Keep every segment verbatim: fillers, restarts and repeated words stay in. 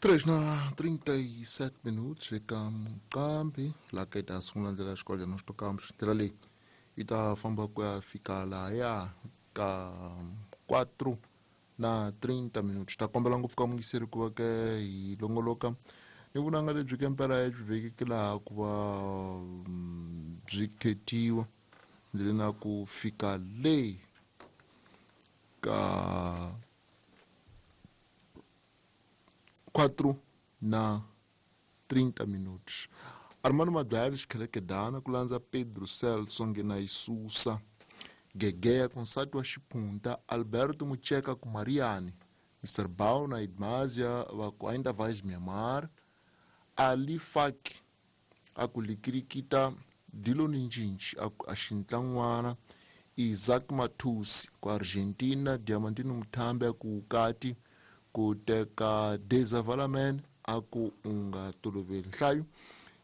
Três na trinta e sete minutos eka Muqambi laha ka hi ta sungula ndlela ya xikolo na xitokambro ndlela leyi yi ta famba ku ya fika lahaya ka quatro na trinta minutos. Ta kombela ngopfu ka muyingiseri ku va ke hi longoloka ni vunanga lebyi ke mpela byi vekeke laha ku va byi khetiwa ndzi na ku fika le ka quatro na trinta minutos. Armando Madwari xikhelekedana ku landza Pedro Celso nghena Isusa Gegeya ku nsati wa Xiphunta Alberto Mucheka ku Mariani Mister Bao na Idmazia va ku ainda vais me amar Ali Faki a ku likirikita Dilo Ninjinji a ku axintlan'wana Isaac Matusi ku Argentina Diamantino Muthambe a ku Ukati ku teka Desavalamen a ku u nga toloveli nhlayo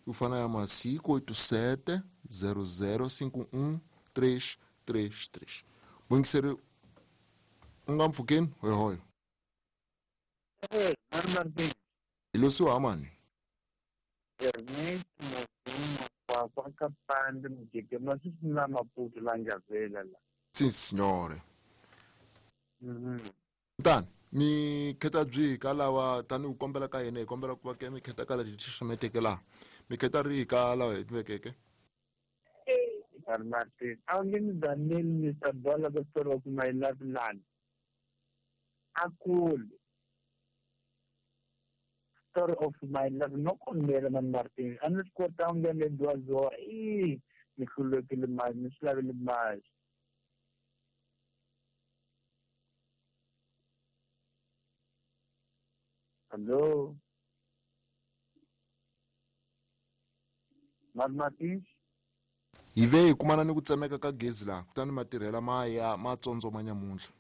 u fana ya masiku oito sete zero zero cinco um três três três. Muyingiseri u nga mpfhukeni hoyohoyo. Hi losiwa hamani Ernest Mozuma kwa Kapande Mujeke masisina Maputo la Njavela la. Sim senhora. Mhm. Tani mi kheta byi ka lava tani u kombela ka yena hi kombela ku va ke mi kheta ka la xixameteke laha mi kheta ri ka lava hi vekeke. Martin, a nge ni Daniel Mister Bola the story of my love land. Akul story of my love no kombela man Martin. A ni swi kota nge le dwazo i ni hlulekile mali ni swi lavile mali. Hello. Man Martin. Hi ve hi kumana ni ku tsemeka ka gezi laha kutani matirhela ma ya ma tsondzoma nyamuntlha.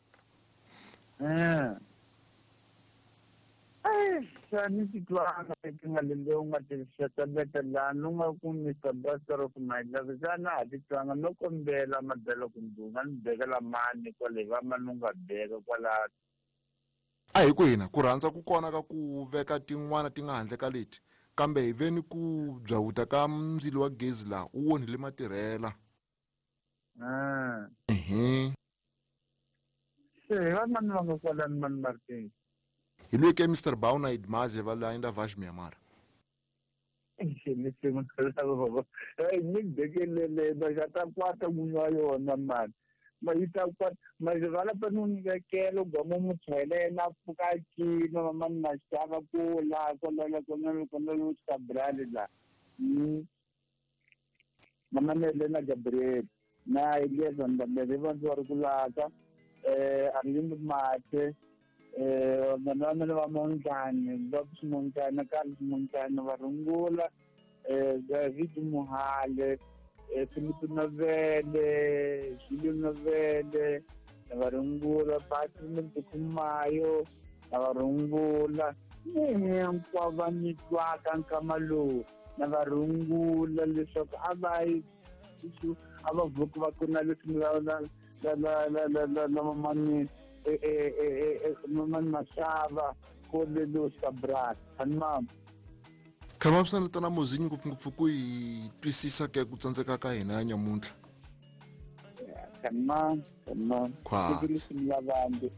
Eh. Eh, xani titwanga leti nga lembe u nga tirhisa beta laha no nga ku Mister Buster of my love xana ha titwanga no kombela madala kumbe u nga ni bekela mani kwale va mani u nga beka kwala. A hi ku hina ku rhandza ku kona ka ku veka tin'wana ti nga handle ka leti kambe hi ve ni ku byawuta ka ndzilo wa gezi laha u onhile matirhela. Ah. Ehe. Se va mani va nga kwalani mani Martin. Hi loyi ke Mister Bauna Idmaze va la ainda vais me amar. Ni ni bekelele ba ta kwata n'winyi wa yona mani. Ma yi ta kwata ma vala pa no vekela gomo muchelela pfuka cina mani maxava ku la kwala kwala kwala yo sabrale la. Mama ne na Gabriel na Elias Ndambele va ndzi ri kulaka eh Arlindo Mate eh vanhu va Montana va Montana Carlos Montana va rungula eh David Muhale eh Filipe Novele Julio Novele va rungula Patrick Kumayo va rungula hinkwavo va nitwaka nkama lowu na va rungula leswaku a va a va vuki va ku na leswi la la la la la la la mani eh eh eh mani maxava ko lelo sabrat hanma khama swi tana mozinyi ngopfungopfu ku hi twisisa ke ku tsandzeka ka hina nyamuntlha. Khama khama Khwatsi. ku